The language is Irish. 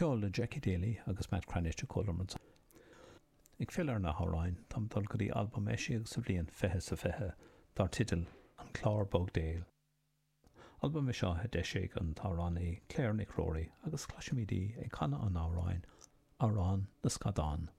Ceol le Jackie Daly agus Matt Cranitch a chualamar ansan. Ag filleadh ar na hamhráin, táim ag dul go dtí albam a eisíodh sa bhliain 2020 dar teideal An Clár Bog Béil. Albam é seo a d'eisigh an t-amhránaí Claire Nic Ruairí agus cloisfimid í ag canadh an amhráin Amhrán na Scadán.